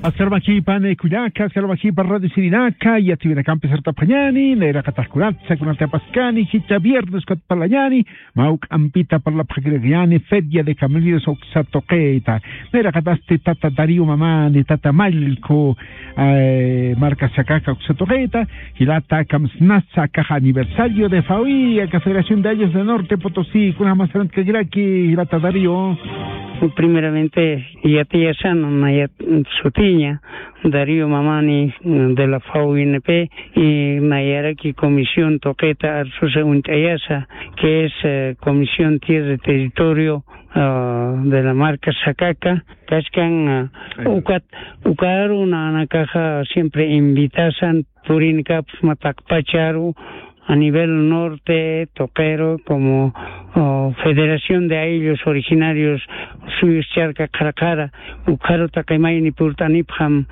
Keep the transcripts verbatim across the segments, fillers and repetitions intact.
Askar wakipan, eh, kullaka, askar wakipan radio sirinaka, yatiwinakampi sartapxañani, nayraqatax kunatsa, kunatapaskani, jichha viernes ukat parlañani, mä juk'ampita parlapxakirakini, Feria de Familias uksa tuqita. Nayraqatasti tata Darío Mamani, tata Mallku, eh, Marcas Jacaca uksa tuqita, jilata kamsnasa akax aniversario de FAWI, aka Federación de Ayllus de Norte Potosí, kunjamas sarantkarakiraki, jilata Darío. Primeramente, yatiyasana, nayat sutiña, Darío Mamani, mm, de la FAWINP, y nayaraki comisión tuqita arsusa uñt'ayasa, que es, eh, Comisión Tierra y Territorio, ah, de la Marcas Jacaca, kaskan, ah, ukat, ukaru nanakaxa siempre invitasan, purinkapxsma taqpacharu, a nivel norte, tuqiru, como, oh, Federación de Ayllus Originarios suyus charka qhara qhara, ukharu taqi mayni purt'anipxam,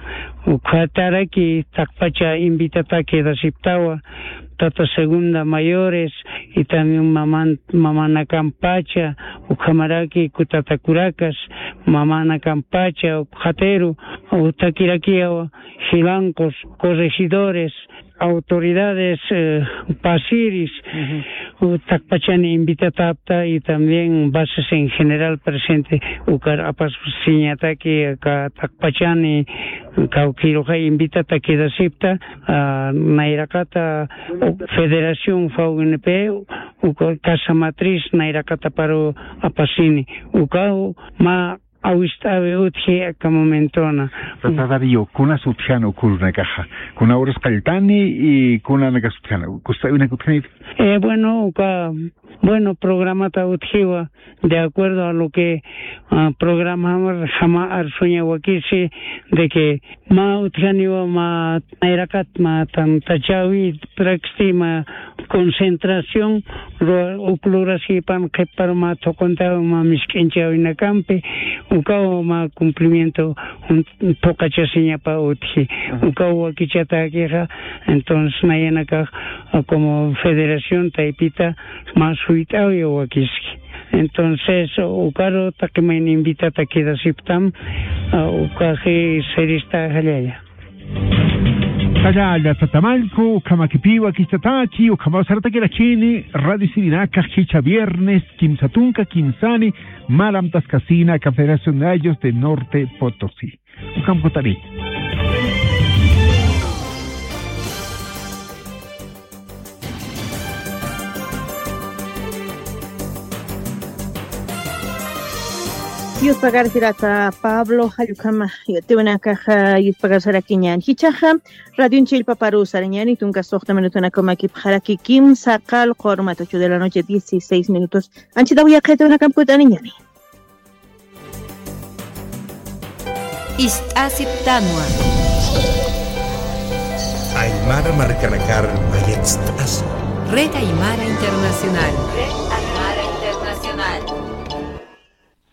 ukhataraki taqpacha invitataki quedasiptawa, tata segunda mayores, y también maman-, mamanakampacha, ukhamaraki kutata kurakas, mamanakampacha, ukxatiru, utakirakiyawa, jilanqus, corregidores, autoridades, eh, pasiris, u taqpachani invitatapta y también bases en general presente, ukar apasiñataki aka taqpachani kawkiruxa invitata quedasipta, ah, nayraqata, u Federación FAWINP, uka Casa Matriz nayraqata paru apasini, ukaw mä awist'awi utji aka momentona. Tata Darío, kunas utjana uk urunakaxa? Kuna uras qalltani y kunanakas utjana? Kust'awinak utjaniti. Eh, bueno, uka, bueno, programata utjiwa, de acuerdo a lo que, ah, programamar jama arsuña wakisi, de que mä utjaniwa mä nayraqat mä tantachawi, praxti mä concentración, ru-, uk lurasipan qhiparu mä thuquntawi mä misk'inchawinakampi, ukaw mä cumplimiento, un, phuqachasiñapa utji. Ujú. Ukaw wakichatakixa, entonces nayanakax, ah, como federación taypita mä suyt'awi wakiski. Entonces, ukaru taqi mayni invitata quedasiptam, ah, ukaxi sirista jallalla. Jallalla tata Mallku, ukhamakipiwa kistataki, ukhamaw saratakirakini, radio sirinakax jichha viernes, kimsa tunka kimsani, mä amtaskasina aka Federación de Ayllus de Norte Potosí. Ukham kutari. Yuspagarjirata Pablo, jallukama, yatiwinakaxa, yuspagarjarakiñan. Jichhaxa, radio chillpaparu sarañani, tunka suxta minutunakaw makipxaraki kimsa qallqu urumata, ocho de la noche, dieciséis minutos. Anchitaw yaqhitunakamkutaniñani. Ist'asiptanwa. Aymara markanakar mayatst'asi. Red Aymara Internacional. Red Aymara Internacional.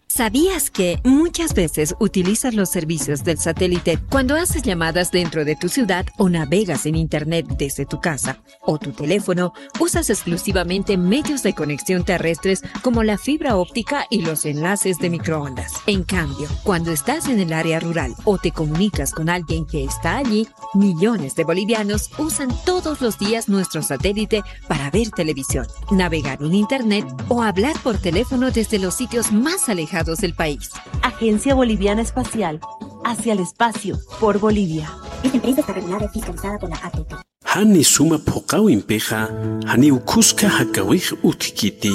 ¿Sabías que muchas veces utilizas los servicios del satélite cuando haces llamadas dentro de tu ciudad o navegas en Internet desde tu casa o tu teléfono? Usas exclusivamente medios de conexión terrestres como la fibra óptica y los enlaces de microondas. En cambio, cuando estás en el área rural o te comunicas con alguien que está allí, millones de bolivianos usan todos los días nuestro satélite para ver televisión, navegar en Internet o hablar por teléfono desde los sitios más alejados del país. Agencia Boliviana Espacial, hacia el espacio, por Bolivia. Esta empresa está regulada y fiscalizada por la A T T. Jani suma phuqawimpixa, janiw khuska jakawix utjkiti.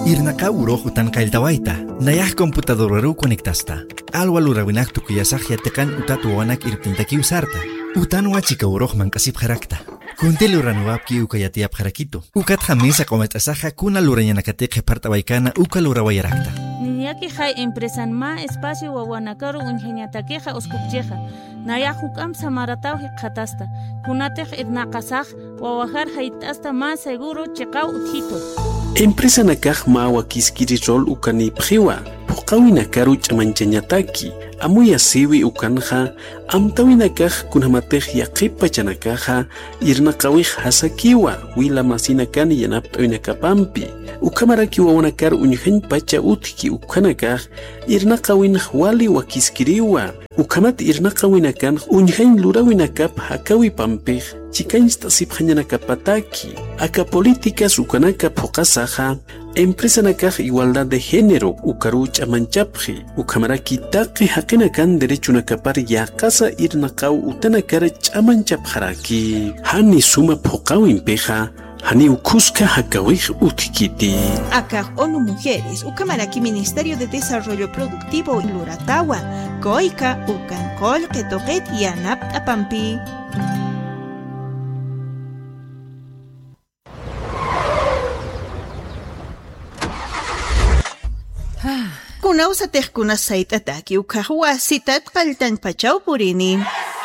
Irnaqaw urux utan qalltawayta, nayax computadoraruw conectasta. Alwa lurawinak tukuyasax yatiqan utat wawanak irptintakiw sarta. Utanwa chika urux manq'asipxarakta. Kunti luraniwapki uka yatiyapxarakitu. Ukatxa mesa q'umat'asaxa kuna lurañanakati qhipart'awaykana uka lurawayarakta. Niñakixay empresan mä espacio wawanakaru uñjañatakixa uskupchixa. Nayax juk'amp samarataw jikxatasta. Kunatix irnaqasax wawajar jayt'asta mä seguro chiqaw utjitu. Empresanakax mä wakiskiri rol ukanïpxiwa. phuqhawinakaru ch'amanchañataki. Amuyasiwi ukanxa, amtawinakax kunjamatix yaqhip pachanakaxa irnaqawix jasakiwa wila masinakan yanapt'awinakapampi. Ukhamaraki wawanakar uñjañ pacha utjki ukhanakax irnaqawinx wali wakiskiriwa. Ukhamat irnaqawinakanx uñjañ luräwinakap jakawipampix chikañcht'asipxañanakapataki. Aka políticas ukanaka phuqhasaxa, empresanakax igualdad de género ukaruw ch'amanchapxi, ukhamaraki taqi jaqinakan derechonakapar yäqasa irnaqaw utanakar ch'amanchapxaraki. Jani suma phuqhawimpixa, janiw khuska jakawix utjkiti. Akax ONU Mujeres, ukhamaraki Ministerio de Desarrollo Productivo luratawa, COICA, ukan qullqi tuqit yanapt'apampi. Kunawsatix kunas sayt'ataki ukhax wasitat qalltañ pachaw purini.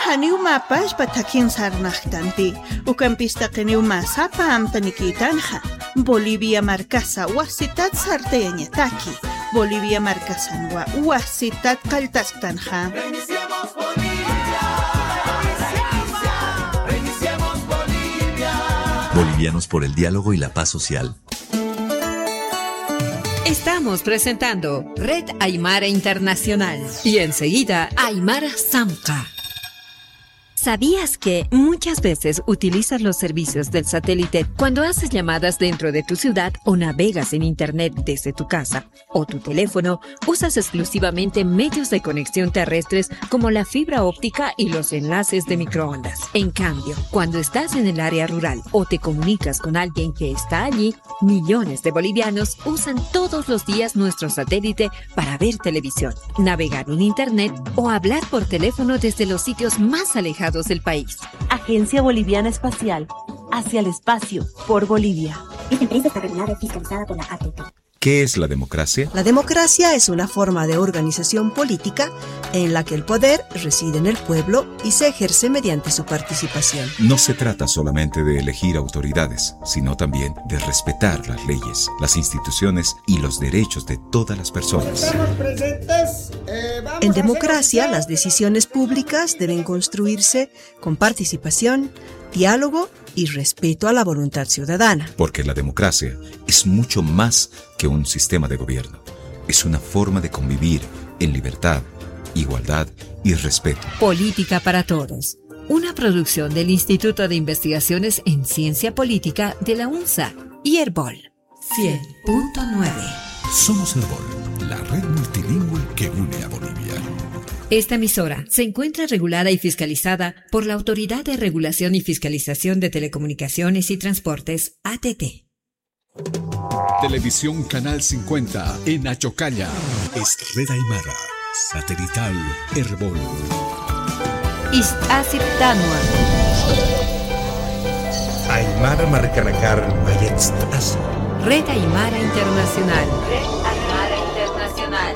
Janiw mä pachpa thakhin sarnaqtanti. Ukampis taqiniw mä sapa amtanikïtanxa. Bolivia markasa wasitat sartayañataki. Bolivia markasanwa wasitat qalltasktanxa. Bolivianos por el diálogo y la paz social. Estamos presentando Red Aymara Internacional y enseguida Aymara Samca. ¿Sabías que muchas veces utilizas los servicios del satélite cuando haces llamadas dentro de tu ciudad o navegas en internet desde tu casa o tu teléfono? Usas exclusivamente medios de conexión terrestres como la fibra óptica y los enlaces de microondas. En cambio, cuando estás en el área rural o te comunicas con alguien que está allí, millones de bolivianos usan todos los días nuestro satélite para ver televisión, navegar en internet o hablar por teléfono desde los sitios más alejados del país. Agencia Boliviana Espacial, hacia el espacio, por Bolivia. Esta empresa está regulada y fiscalizada por la A T T. ¿Qué es la democracia? La democracia es una forma de organización política en la que el poder reside en el pueblo y se ejerce mediante su participación. No se trata solamente de elegir autoridades, sino también de respetar las leyes, las instituciones y los derechos de todas las personas. Estamos presentes, eh, vamos a hacer... En democracia, las decisiones públicas deben construirse con participación, diálogo y respeto a la voluntad ciudadana. Porque la democracia es mucho más que un sistema de gobierno. Es una forma de convivir en libertad, igualdad y respeto. Política para Todos, una producción del Instituto de Investigaciones en Ciencia Política de la UNSA y Erbol. Cien punto nueve. Somos Erbol, la red multilingüe que une a Bolivia. Esta emisora se encuentra regulada y fiscalizada por la Autoridad de Regulación y Fiscalización de Telecomunicaciones y Transportes, A T T. Televisión Canal cincuenta en Achocalla. Es Red Aymara, satelital Erbol. Ist'asiptanwa. Aymara markanakar mayatst'asi. Red Aymara Internacional. Red Aymara Internacional.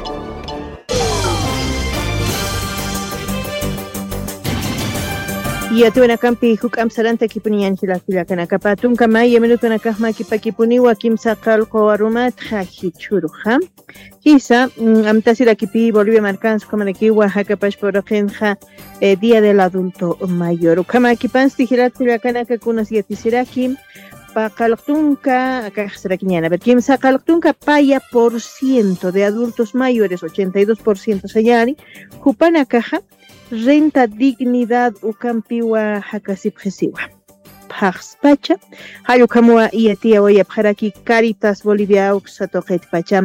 Yatiyäwinakampi juk'amp sarantakipuniñäni jilat kullakanaka. Pä tunka maya minutonakax mä kipakipuniwa kimsa qallqu arumat jichhüruxa. Jisa, mm, amtasirakipi Bolivia markans ukhamarakiwa jakapachpa uraqinxa, eh, Día del Adulto Mayor. Ukhamäkipansti jilat kullakanaka kunas yatisiraki, pä qallqu tunka, akax sarakiñäni. A ver, kimsa qallqu tunka paya por ciento de adultos mayores, ochenta y dos por ciento sañäni, jupanakaxa renta dignidad ukampiwa jakasipxisiwa. Phaxspacha, jall ukhamwa yatiyawayapxaraki Caritas Bolivia uksa tuqitpacha.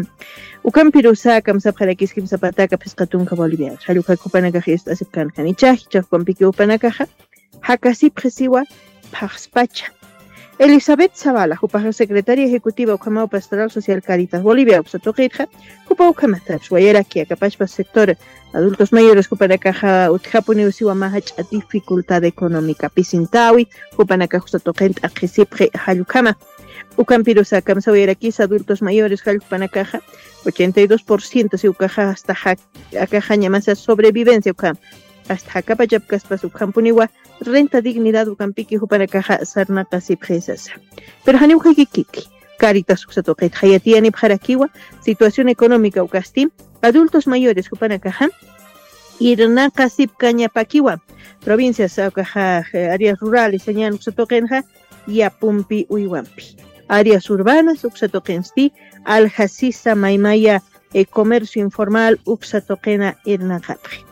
Ukampirusa kamsapxarakis kimsa pataka phisqa tunka Bolivia. Jall ukha jupanakax ist'asipkänxani. Jichhax jupampiki jupanakaxa jakasipxisiwa phaxspacha. Elizabeth Zavala, jupax secretaria ejecutiva ukhamaw Pastoral Social Caritas Bolivia uksa tuqitxa, jupa ukhamatapis wayaraki akapachpa sector adultos mayores jupanakaxa utjapuniw siwa mä jach'a dificultad económica pisintawi, jupanakax uksa tuqin t'aqhisipxi jall ukhama. Ukampirusa kamsa wayarakisa adultos mayores jall jupanakaxa, ochenta y dos por ciento si ukaxa hasta ja-, akaxañamasa sobrevivencia ukhama. Hasta jakapachapkaspas ukhampuniwa renta dignidad ukampiki jupanakaxa sarnaqasipxi sasa. Pero janiw jikikiki, Caritas uksa tuqitxa yatiyanipxarakiwa situación económica ukasti, Adultos mayores jupanakaxa irnaqasipkañapakiwa. Provincias ukaxa, áreas rurales sañan uksa tuqinxa yapumpi uywampi, áreas urbanas uksa tuqinsti aljasisa maymaya comercio informal uksa tuqina irnaqapxi.